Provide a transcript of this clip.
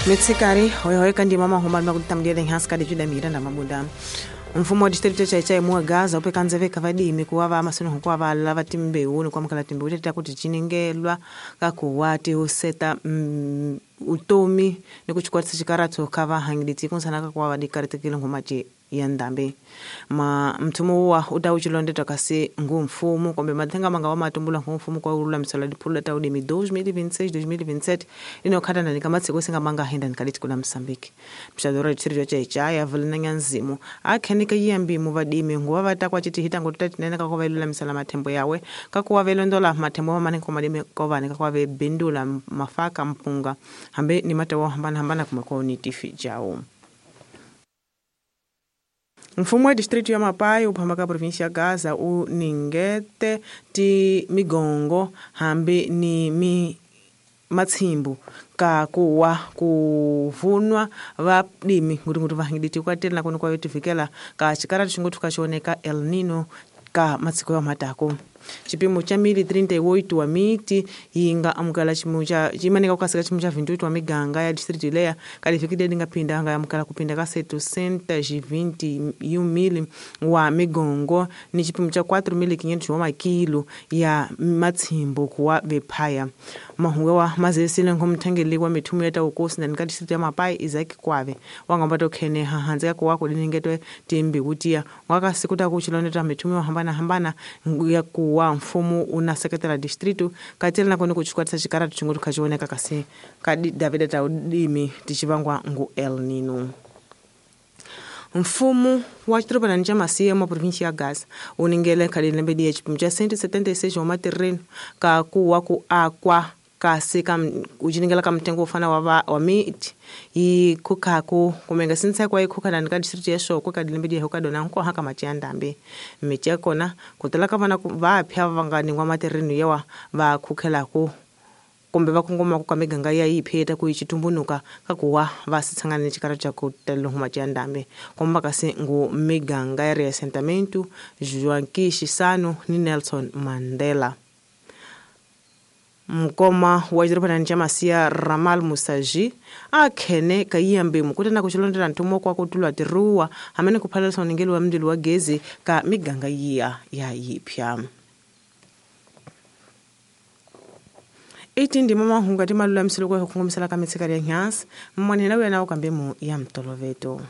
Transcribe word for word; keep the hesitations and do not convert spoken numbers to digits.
Mitsikari hoyohoyo kandi mama huma makutamdia lenhas kadi juda miranda mabuda mfumo wa distrito cha Chai mwa Gaza upekanze veka vadimi kuwava amasino hukuwa vala timbewu ni kwamkala timbewu teta kuti chiningelwa kakuwati huseta mm, utomi ni kuchikwatisa chikaratu kava hangiliti kunsana kakuwa vadikaritikile ngumachi ya ndambi ma mthumo wa utawuchilondetwa kasi ngu mfumo kumbe mathenga manga wa matumbula ngu mfumo kwa ululamisela diphulu ta udimi dois mil e vinte e seis dois mil e vinte e sete inokhatana ni kamatsiko singa manga henda nikalithi kula Mozambique mshadora distrito cha Ichaya vulina nyanzimu akhenika yiyambimu vadimi nguva vatakwa chitihita ngotuta kakuva ilulamisela mathembo yawe kakuwa velondola mathembo mamane komadimi kovane kakuwa vebindula mafaka mpunga hambe ni matewo hambana hambana kumekuwa unitifi jawo. Mfumo wa distrito ya Mapai uphamba ka província ya Gaza u ningete ti migongo hambi ni mi matshimbu ka kuwa kuvunwa vadimi nguti vahingiditi kwatela nakoni kwa yotivikela ka xikaratu xingothu ka xioneka El Nino ka matsiko ya matako chipimo cha mili trinta e oito wa miti yinga amukela chimo cha chimanika kukasika chimo cha vinte e oito wa miganga ya distrito leya kalifikile lingapinda anga yamukela kupinda ka setecentos e vinte e um mil wa migongo ni chipimo cha quatro mil e quinhentos wa makilo ya matshimbu kuwa vephaya mahungu wa mazesile ngomthengeli wa mithumo ya taukosi na nika distrito ya Mapai Isaac Kwave wangamba tokhene hahanze kuwa kulinengetwe timbi kutiya wakasiku takuchiloneta mithumo yo hambana hambana ya ku wa mfumo una sekretara distrito katela nakoni kuchikwatisa xikaratu xingotu khaxioneka kasi ka David Taudimi tichivangwa ngu El Nino. Mfumo wa xidorobanani xa Masia mwa província ya Gaza u ningele khale lembe ya xipimo xa cento e setenta e seis wa materreno ka kuwa ku akwa kasi ka uciningela ka mtengo wo fana wa wa miti yi khukhaku kumenga sinsa kwa yi khukhanani ka distrito ya Xoko ka dilembe di ka dona nkoha ka mati ya ndambi miti ya kona ku tala ka vana va phya va nga ningwa materreno yawa va khukhelaku kumbe va kongomaka ka miganga ya yi pheta ku yi chitumbunuka ka kuwa va sitshangana ni xikara xa ku talelwa mati ya ndambi komba kasi ngu miganga ya Reassentamento Joaquim Chissano ni Nelson Mandela. Mkoma wa xidorobanani xa Masia Ramal Musaji a khene ka yiyambimu kutana ku xilondela nthumo kwa ku tulwa tiruwa hamene ku phalalisa uningeli wa mndilo wa gezi ka miganga yiya ya yiphya. Iti ndima mahunga ti malulamiselo ku kongomisela ka mitshika ya nyansi mwanhena wena u kambe mu ya mtoloveto.